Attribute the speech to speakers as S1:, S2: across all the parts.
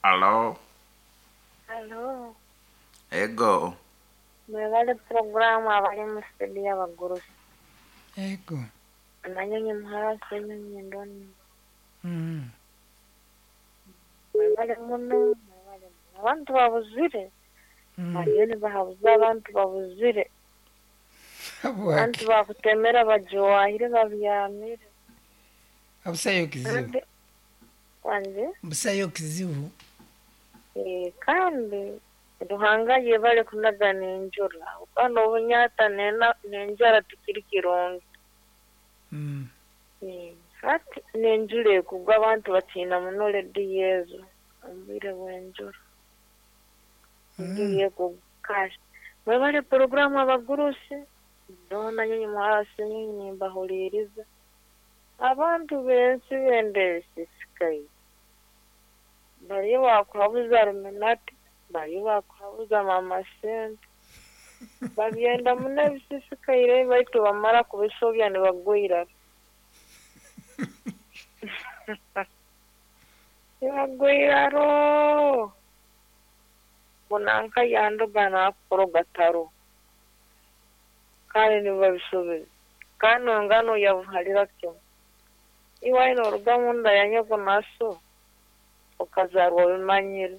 S1: Alo.
S2: Alo.
S1: Ego.
S2: Mwebale puroguramu abali mu studio abagurusi.
S3: Ego.
S2: Nanyonyi muhara Ssenyonyi Ndoni.
S3: Mm.
S2: Mwebale muno, mwebale muno. Abantu babuzire.
S3: Mm.
S2: Bariyo nibahabuza abantu babuzire.
S3: Habwaki?
S2: Abantu bakutemera bajwahire babyamire.
S3: Abusayo kizibu.
S2: Kandi wanje
S3: Busayo kizibu.
S2: Kandi Ruhanga yebale kunagana enjura. Kandi obunyata n'enjara tikiri kirungi.
S3: Mm.
S2: Hati n'enjura ekugwa abantu batiina muno rediyo ezo omu bwire bw'enjura. Enjura ekugwa kashi. Mwebale puroguramu abagurusi. Ndoona nyonyi muhara Ssenyonyi nimbahuliiriza. Abantu b'ensi benda ebisisikaire. Bariyo bakuhabuza Ruminati, bariyo bakuhabuza Mama Sente. Babyenda muno ebisisikaire baitu bamara kubisobya nibagwa iraro. Nibagwa iraro. Ngu nanka yandoga naakukoroga taro. Kandi nibabisubiza. Kandi ngano yabuharira kimu. Iwe noruga munda ya nyoko na so okazarwa obimanyire.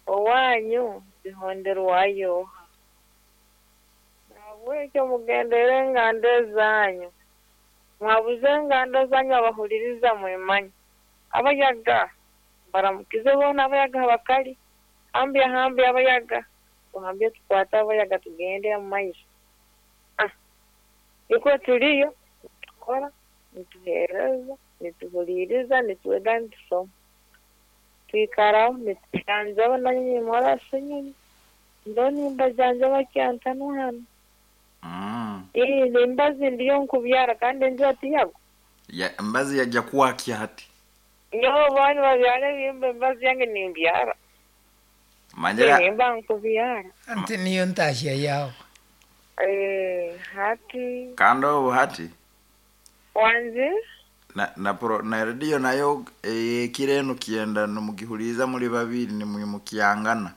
S2: Owanyu zihonderwayo oha? Nahabwekyo mugendere enganda ezanyu. Mwabuze enganda zanyu abahuliriza mwemanye. Abayaga baramukize boona abayaga abakali. Hambya hambya abayaga. Tuhambye tukwate abayaga tugende omu maiso. Nikwo turiyo nitukora, nituheereza, nituhuliiriza, nitwega, nitusoma. Twikaraho nitujanjaba nanyonyi muhara Ssenyonyi. Ndo nimbajanjaba kyantano hanu.
S1: Mm.
S2: Nembazi ndiyo nkubyara kandi enjura tiyagwa.
S1: Ya, embazi yajja kuwakya hati.
S2: Nyowe baani babyara ebihimba embazi yange nimbyara.
S1: Manyira
S2: Nimba nkubyara.
S3: Anti niyo ntahya yawe.
S2: Hati
S1: kandi obu hati
S2: wanje
S1: na pro, na radio nayo ekiro enu kyenda nimugihuliza muri babiri nimwimukyangana.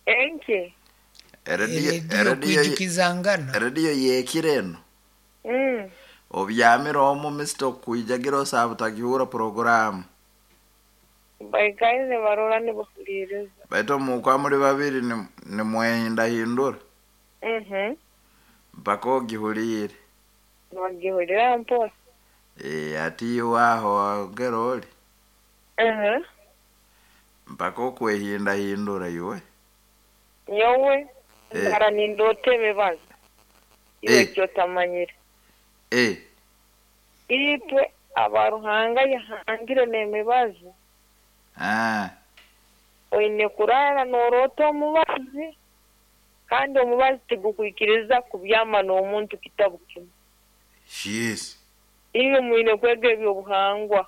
S2: Enki?
S1: Erediyo
S3: Erediyo
S1: erediyo
S3: kwijukizangana.
S1: erediyo yekiro enu. Obyamire omu misito okwijagira osaba utagihura programu.
S2: Baikaire nibarora nibahuliiriza.
S1: Baitu mukwa muri babiri nimwehindahindura.
S2: Mhm.
S1: Mpaka ogihulire.
S2: Nibagihulira mpora.
S1: Ati iwe aho wagera oli.
S2: Mhm.
S1: Mpaka okwehindahindura iwe.
S2: Nyowe ndara nindoota emibazi. Iwe ekyotamanyire. Itwe abaruhanga yahangire n'emibazi.
S1: Ah.
S2: Oine kurara n'oroota omubazi. Kandi omubazi tigukwikiriza kubyama n'omuntu kitabu kimu.
S1: Yes.
S2: Iwe mwine kwega ebyobuhangwa.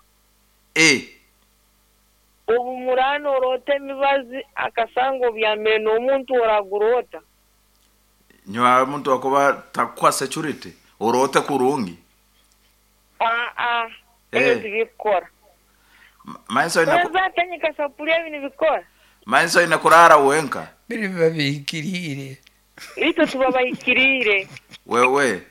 S2: Obu murana oroota emibazi akasanga obyamire n'omuntu oraguroota.
S1: Nywa omuntu akuba takuha security oroote kurungi.
S2: Aa, ebyo tibikukora.
S1: Maiso ina
S2: Weza atanyika sapuria ebi nibikora.
S1: Maiso ina kurara wenka.
S3: Biri babihikiriire.
S2: Itwe tuba bahikiriire.
S1: Wewe.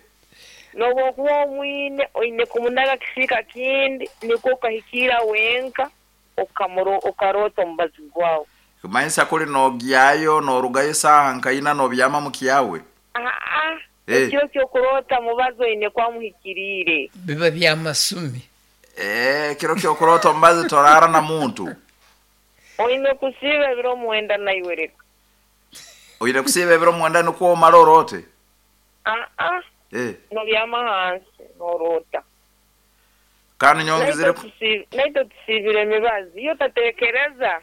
S2: N'obwokuba omwine oine kumunaga kisiika kindi nikwo okahikira wenka okaroota omubazi gwawe.
S1: Kumanyisa kuli nogyayo norugayo saaha nkaina nobyama mukyawe.
S2: Aa, ekiro ky'okuroota mubazi oine kwamuhikiriire.
S3: Biba byamasumi.
S1: Ekiro ky'okuroota omubazi torara na muntu.
S2: Oine kusiiba ebiro mwenda naiwe reka.
S1: Oine kusiiba ebiro mwenda nikwo omara oroote?
S2: Aa. Nobyama hansi noroota.
S1: Kandi nyongezere
S2: naitwe tusiibire emibazi. Iyo otatekereza.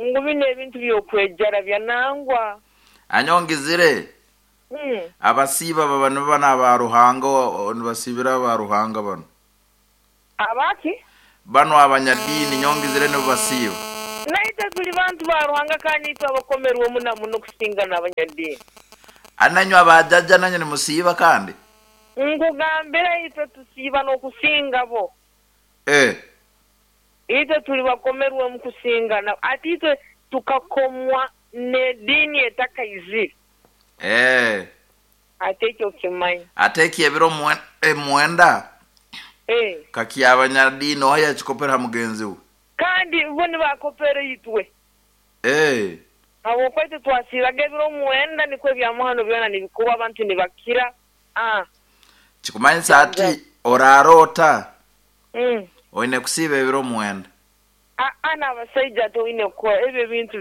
S2: Ngu bino ebintu by'okwejara byanangwa.
S1: Anyongezere. Abasiiba baba nibo bana aba Ruhanga nibasiibira aba Ruhanga bano.
S2: Abaki?
S1: Bano abanyadini nyongezere nibo basiiba.
S2: Naitwe tuli bantu ba Ruhanga kandi itwe abakomerwe muno muno kusinga n'abanyadini.
S1: Ananywa abajaja nanyo nimusiiba kandi?
S2: Nkugambira itwe tusiiba n'okusinga bo. Itwe tuli bakomerwe mu kusingana, ati itwe tukakomwa n'ediini etakaizire.
S1: Eh.
S2: Ate ekyo okimanyi.
S1: Ate eki ebiro mwenda
S2: Eh.
S1: kakyabanyadiini oha yakikopera ha mugenzi we.
S2: Kandi bo nibakopera itwe.
S1: Eh.
S2: Habwokuba itwe twasiibaga ebiro mwenda nikwo ebyamuhano byona nibikorwa abantu nibakira. Ah.
S1: Kikumanyisa ati oraroota oine kusiiba ebiro 9.
S2: Aa n'abasaija ate oine kukora ebyo ebintu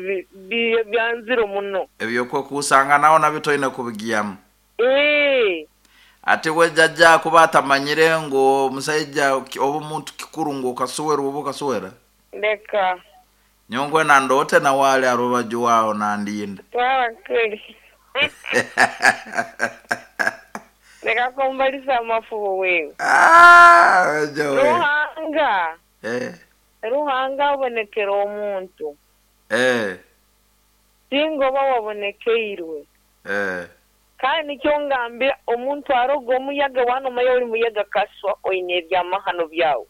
S2: byanzire muno.
S1: Ebyokwekuusanganaho nabyo toine kubigyamu.
S2: Ee.
S1: Ati we jjajja kuba atamanyire ngu omusaija oba omuntu kikuru ngu okaswera oba okaswera.
S2: Leka.
S1: Nyowe nandoote nawe ali ha rubaju aho nandinda.
S2: Twara kuli. Leka kumbalisa amafubo wewe.
S1: Ah, Joey.
S2: Ruhanga.
S1: Eh.
S2: Ruhanga abonekera omuntu.
S1: Eh.
S2: Singa oba wabonekeirwe.
S1: Eh.
S2: Kandi nikyo ngambira omuntu aroga omuyaga wanomanya oli muyaga kaswa oine ebyamahano byawe.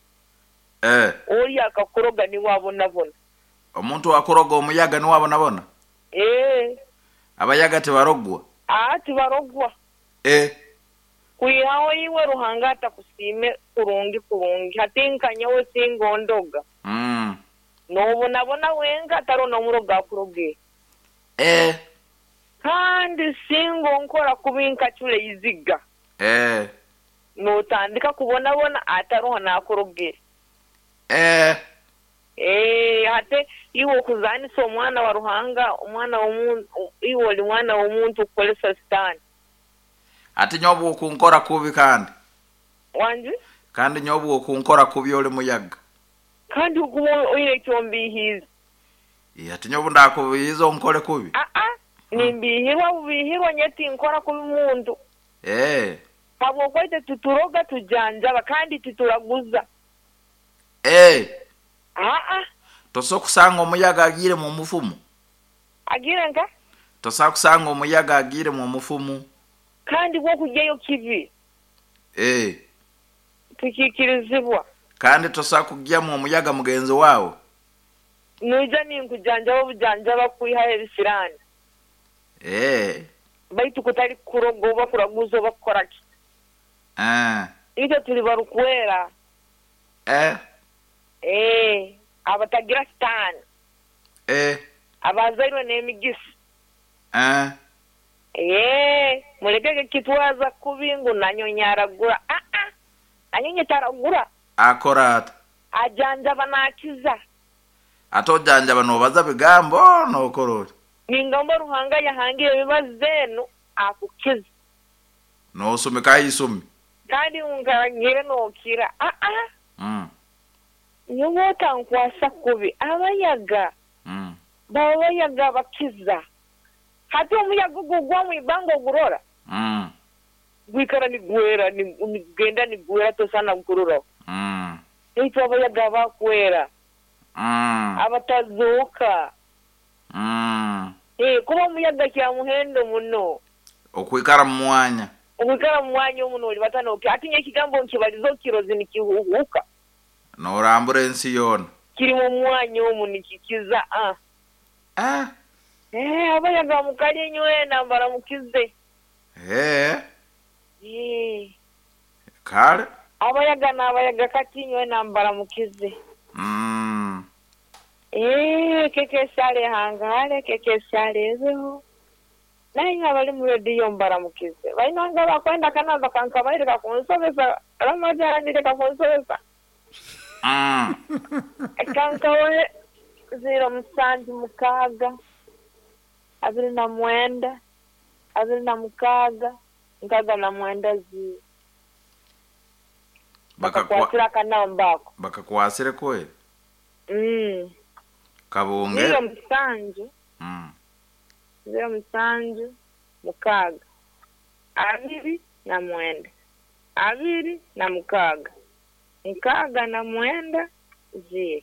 S1: Eh.
S2: Oli akakuroga niwe abonabona.
S1: Omuntu akuroga omuyaga niwe abonabona?
S2: Eh.
S1: Abayaga tibarogwa?
S2: Ah, tibarogwa.
S1: Eh.
S2: Kwihaho iwe Ruhanga atakusiime kurungi kurungi. Hati nka nyowe singa ondoga. Nobonabona wenka atari n'omurogo akuroge.
S1: Eh.
S2: Kandi singa onkora kubi nkacura iziga.
S1: Eh.
S2: Notandika kubonabona ataroho nakurogere.
S1: Eh.
S2: Eh, ate iwe okuzanisa omwana wa Ruhanga, omwana w'omuntu, iwe oli mwana w'omuntu kukolesa sitaani.
S1: Ati nyowe okunkora kubi kandi.
S2: Wangi?
S1: Kandi nyowe okunkora kubi oli muyaga.
S2: Kandi okuba oine ekyombihiize.
S1: Ati nyowe ndakubihiiza onkore kubi.
S2: Aa, nimbihirwa bubihirwa nyowe tinkora kubi muntu.
S1: Eh.
S2: Habwokuba itwe tituroga tujanjaba kandi tituraguza.
S1: Eh.
S2: Aa.
S1: Tosobola kusanga omuyaga agiire mu mufumu.
S2: Agiire nka?
S1: Tosobola kusanga omuyaga agiire mu mufumu.
S2: Kandi bw'okugyayo kibi.
S1: Eh.
S2: Tikiikirizibwa.
S1: Kandi tosobola kugyamu omuyaga mugenzi waawe.
S2: Noija ninkujanjaba obujanjaba kwihaho ebisiraani.
S1: Eh.
S2: Baitu kutali kuroga oba kuraguza oba kukora ki.
S1: Eh.
S2: Itwe tuli barukwera.
S1: Eh.
S2: Eh, abatagira sitaani.
S1: Eh.
S2: Abazairwe n'emigisa.
S1: Eh.
S2: Ee, mulekege kitwaza kubi ngu nanyonyi aragura. Aa, nanyonyi taragura.
S1: Akora ata?
S2: Ajanjaba nakiza.
S1: Ate ojanjaba nobaza bigambo nokora oti?
S2: Ningamba Ruhanga yahangire emibazi enu akukiza.
S1: Nosumikaho isumi.
S2: Kandi nkaragire nokira. Aa. Nyowe otankwasa kubi abayaga. Baba bayaga bakiza. Hati omuyaga ogwo gwa mwibanga ogurora. Gwikara nigwera, nigenda nigwera tosana kukuroraho. Itwe abayaga bakwera. Abatazuuka. Eh, kuba omuyaga kya muhendo muno.
S1: Okwikara mu mwanya.
S2: Okwikara mu mwanya omuno oli batanoke. Ati nye ekigambo nkibaliza okirozi nikihuhuka.
S1: Norambura ensi yoona.
S2: Kiri mu mwanya omu nikikiza. Ah.
S1: Eh.
S2: Eh, abayaga mukali nywena mbaramukize.
S1: Eh.
S2: Eh.
S1: Kale.
S2: Abayaga n'abayaga kati nywena mbaramukize. Eh, keke sale hangale, keke sale ebeho. Naye abali mu rediyo mbaramukize. Bainanga bakwenda kanamba kankabaireka kunsobesa, Ramadhani reka kunsobesa. Kankawe 0 7 6 29 26 69 0. Bakakwasira akanamba ako.
S1: Bakakwasire kweli? Kabunge.
S2: 0 7 0 7 6 29 26 69 0.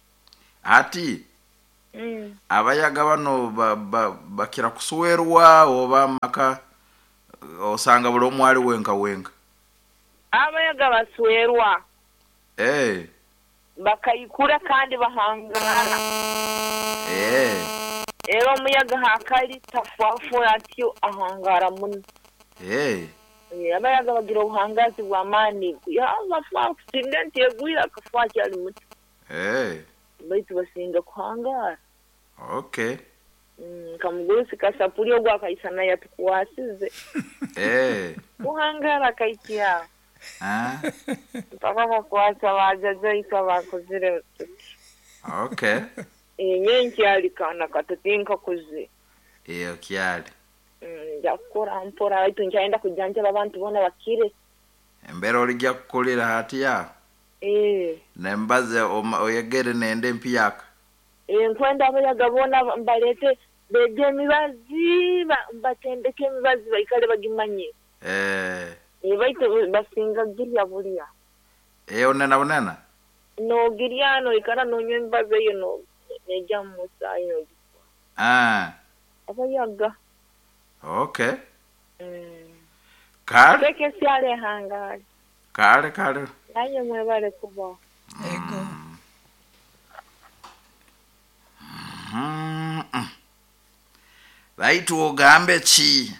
S1: Ati abayaga bano bakira kuswerwa oba maka osanga buli omu ali wenka wenka.
S2: Abayaga baswerwa.
S1: Eh.
S2: Bakaikura kandi bahangara. Era omuyaga hakali tafwafura atyo ahangara muno. Abayaga bagira obuhangazi bw'amaani. Yaba accident egwire akafa akyali muto. Baitu basinga kuhangara.
S1: Okay.
S2: Kamugurusi kasapuli ogwo akaisana yatukwasize. Kuhangara akaikya. Mpaka kakwasa bajaja bakozire.
S1: Okay.
S2: Nyenkyali kana katatinka kuzi.
S1: Iyo kyali.
S2: Nja kukora mpora baitu nkyayenda kujanjaba abantu boona bakire.
S1: Embera olijja kukulira hatiya. Nembaze oyegere nende empiyaka.
S2: Nkwenda abayaga boona mbalete bege emibazi mbatendeke emibazi baikale bagimanye. Baitu basinga girya bulya.
S1: Onena bunena?
S2: Nogirya noikara nonywa emibazi eyo no nejja mu musaayi nogikwa. Abayaga.
S1: Okay. Kale.
S2: Teke syale hangari.
S1: Kale kale.
S2: Naye mwebale kubaho.
S3: Ego.
S1: Baitu ogambe ki?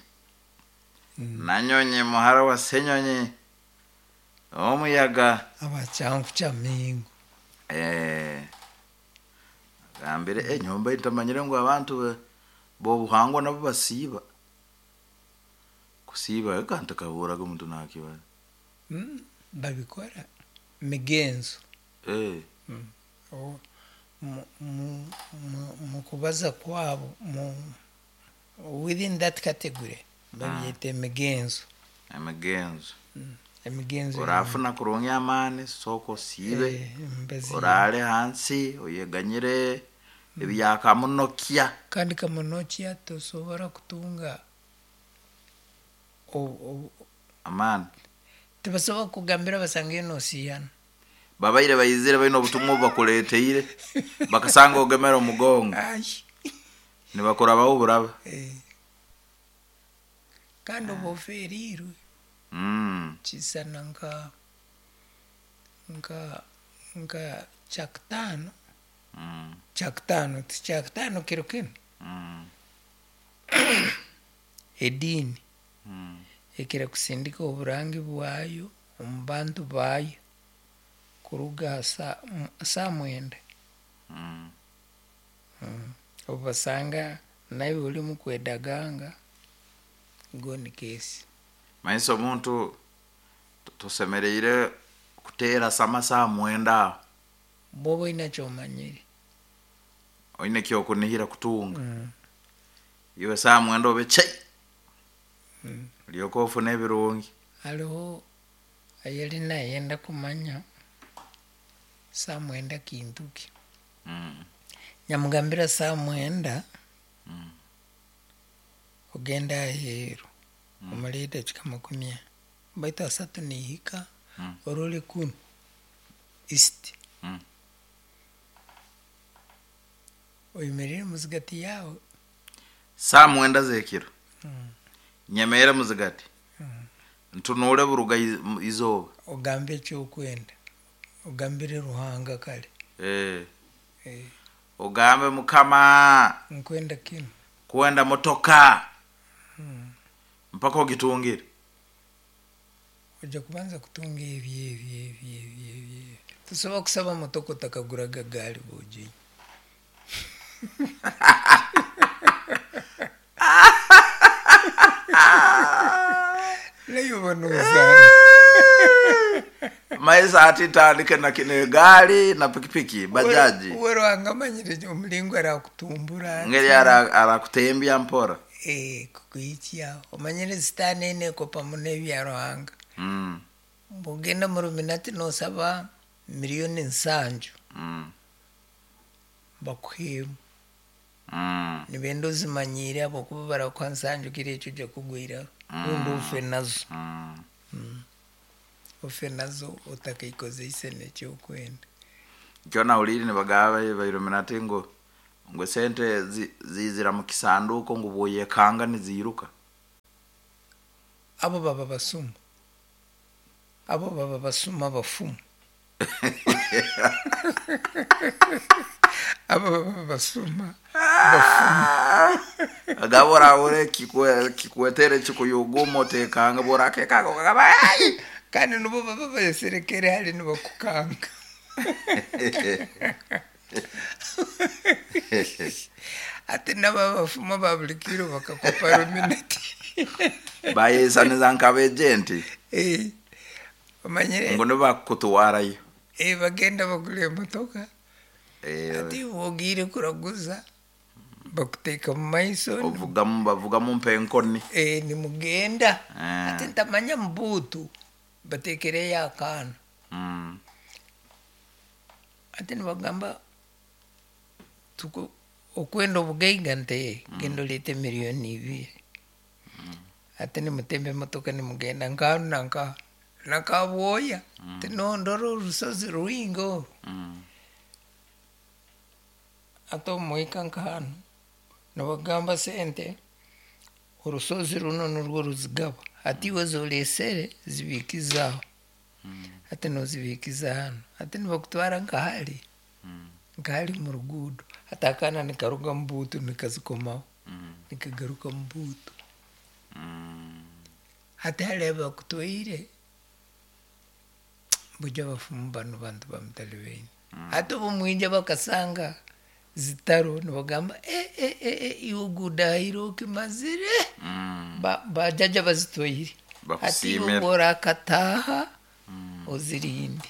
S1: Nanyonyi muhara wa Senyonyi omuyaga
S3: abachangu cha mingu.
S1: Gambire enyomba itamanyire ngu abantu bobuhangwa nabo basiiba. Kusiiba kantu kaburaga omuntu nakibara.
S3: Babikora migenzo. Mu kubaza kwabo within that category babyeta emigenzo.
S1: Emigenzo.
S3: Emigenzo.
S1: Orafuna kurungi amani soko osiibe. Orale hansi oyeganyire ebyakamunokia.
S3: Kandi kamunokia tosobora kutunga
S1: amani.
S3: Tibasobola kugambira basange nosiyana.
S1: Babaire bayizire balina obutumwa obubakuleeteire bakasanga ogemera omugongo. Nibakurabaho buraba.
S3: Kandi oba oferiirwe. Kisana nka kyakutaano. Kyakutaano ti kyakutaano kiro kinu. Ediini ekira kusindika oburangi bwayo omu bantu baayo kuruga saa 9. Obasanga nawe oli mukwedaganga goni kesi.
S1: Maiso omuntu tosemereire kuteera sama saa 9.
S3: Bwoba oine kyomanyire.
S1: Oine kyokunihira kutunga. Iwe saa 9 obe chai. Olyoka ofuna ebirungi.
S3: Hariho ayali nayenda kumanya saa 9 kintu ki. Nyamugambira saa 9 ogenda aheeru omara edakika 40 baitu 30 nihika orole kunu east. Oyemerere muzigati yawe.
S1: Saa 9 z'ekiro. Nyemere muzigati. Ntunuule buruga izooba.
S3: Ogambe ekyokwenda. Ogambire Ruhanga kale.
S1: Ogambe Mukama.
S3: Nkwenda kinu.
S1: Kwenda motoka. Mpaka ogitungire.
S3: Ojja kubanza kutunga ebyo. Tusobola kusaba motoka otakaguraga gaali bwoginywa. Naye oba nozaana.
S1: Maisa ati tandike na kine gaali na pikipiki bajaji.
S3: Uwe Ruhanga amanyire omulingo arakutumbura.
S1: Ngeri arakutembya mpora.
S3: Kukuhikya. Omanyire sitaani ene ekopa muno ebya Ruhanga. Bwogenda mu Illuminati nosaba 7,000,000. Bakuheemu. Nibenda ozimanyire ahabwokuba barakuha 7 kiro ekyo ojja kugwiraho. Rundi ofe nazo. Ofe nazo otakaikozese nekyokwenda.
S1: Kyo nawulire nibagamba ba Illuminati ngu sente zizira mu kisanduuko ngu bwoyekanga niziiruka.
S3: Abo baba basuma. Abo baba basuma bafumu. Abo baba basuma.
S1: Agaba orahura kikwetere kikuyuguma otekanga borakekanga okagamba "Ai!"
S3: Kandi nibo baba bayeserekere hali nibakukanga. Ate nabo abafuma ba buli kiro bakakopa ruminati.
S1: Bayesaniza nk'abejenti.
S3: Eh, omanyire.
S1: Ngu nibakutwarayo.
S3: Eh, bagenda bagura emotoka.
S1: Eh,
S3: ati wogiire kuraguza bakuteeka mu maiso.
S1: Ovugamu bavugamu mpa enkoni.
S3: Eh, nimugenda.
S1: Ah.
S3: Ate ntamanya mubuutu bateekereyo akaana. Ate nibagamba okwenda obugaiga nte genda oleete 2 million. Ate nimutemba emotoka nimugenda nkanu nanka nakabwoya tinondora orusozi rwingi oru. Ate omuhika nkahanu nibagamba sente orusozi runo nurwo ruzigaba, hati iwe zoresere zibikizaho, hati nozibikiza hanu, hati nibakutwara nkahali nkahali mu ruguudo, hati akaana nikaruga mu buutu nikazikomaho nikagaruka mu buutu. Hati hali bakutwaire buja abafumu banu bantu bamutali baine. Hati obu mwija bakasanga zitaro nibagamba e, e, e, e, iwe gudahire okimazire. Bajaja bazitwaire, hati iwe
S1: Bakusiimire.
S3: bworakataha ozirinde.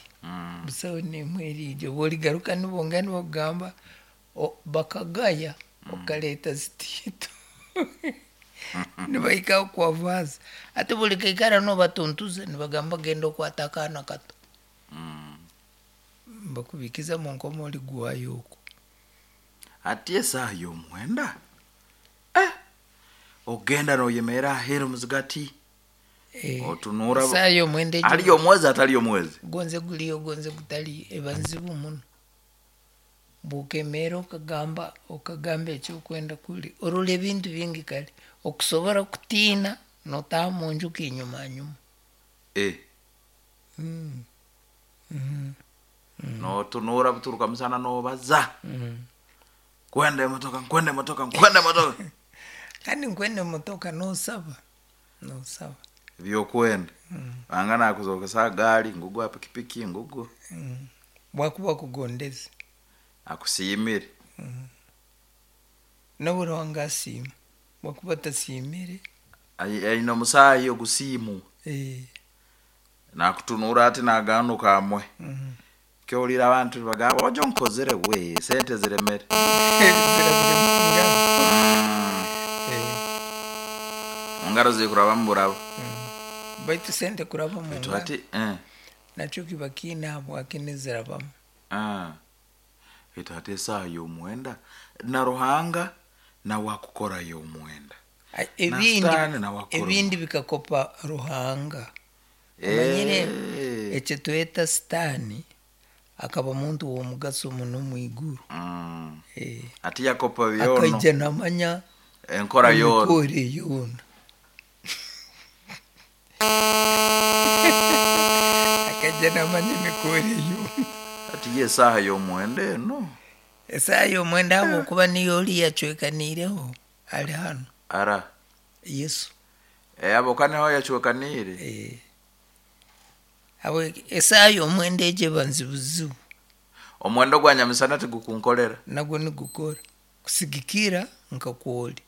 S3: Busaho nemwe eriija bworigaruka nibongera nibakugamba bakagaya okaleta zitiito nibahika kwavaza. Ati buli kaikara nobatuntuza nibagamba genda okwata akaana kato. Bakubikiza munkomo oliguhayo okwo.
S1: Ati esaaha y'omwenda, eh, ogenda noyemerera aheeru muzigati.
S3: Eh,
S1: otunura.
S3: Esaaha y'omwenda egyo.
S1: Aliyo omwezi atali omwezi.
S3: Gonze guliyo gonze gutali eba nzibu muno. Bwokemeera okagamba ekyokwenda kuli orora ebintu bingi kale okusobora kutiina notaha munju kinyuma nyuma.
S1: Eh. Notunura buturuka musana nobaza kwenda emotoka, nkwenda emotoka, nkwenda emotoka.
S3: Kandi nkwenda emotoka nosaba nosaba.
S1: Byokwenda anga nakuzokesa gaali ngugwa pikipiki ngugwo.
S3: Bwakuba kugondeza.
S1: Akusiimire.
S3: Nawe Ruhanga asiima bwakuba atasiimire.
S1: Aine omusaayi ogusiimu.
S3: Eh,
S1: nakutunura ati naganuka amwe. Kyowulira abantu nibagamba ojo nkozere we sente ziremere.
S3: Zirabire mu ngaro. Eh,
S1: mungaro zikuraba muburabo.
S3: Baitu sente kuraba mu
S1: Baitu
S3: ngaro
S1: ati eh,
S3: nakyo kiba kiine habwaki nizirabamu.
S1: Ah. Baitu ati esaaha y'omwenda na Ruhanga nawe akukora y'omwenda.
S3: Ai,
S1: Na
S3: ebindi
S1: Sitaani nawe akukora.
S3: Ebindi bikakopa Ruhanga omanyire.
S1: Eh.
S3: Ekyo tweta Sitaani akaba muntu w'omugaso muno mu iguru. Eh,
S1: ati yakopa byono.
S3: Akaija namanya
S1: enkora yoona.
S3: emikoro yoona, akaija namanya emikoro yoona.
S1: Ati ye esaaha y'omwenda eno.
S3: Esaaha y'omwenda habwokuba niyo oli yacwekaniireho ali hanu.
S1: Ara.
S3: Yesu.
S1: Eh, abo niho yacwekaniire.
S3: Eh. Habwe esaaha y'omwenda egyo eba nzibuzibu.
S1: Omwenda gwa nyamisana tigukunkolera.
S3: Nagwo nigukora kusigikira nka kwoli.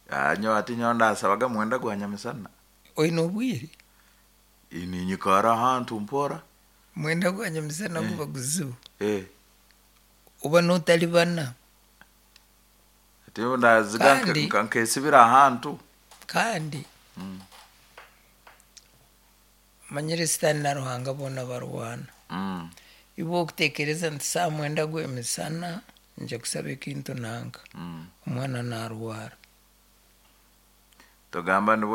S1: Ah, nyo ati nyo ndasabaga mwenda gwa nyamisana.
S3: Oine obwire.
S1: Ninyikara ahantu mpora.
S3: Mwenda gwa nyamisana guba guzibu.
S1: Eh.
S3: Oba notalibana.
S1: Ati ndaziga nkesibira ahantu.
S3: Kandi manyire Sitaani na Ruhanga boona barwana. Iwe okutekereza nti saa mwenda gw'emisana nja kusaba ekintu nanka omwana narwara.
S1: Togamba nibwo.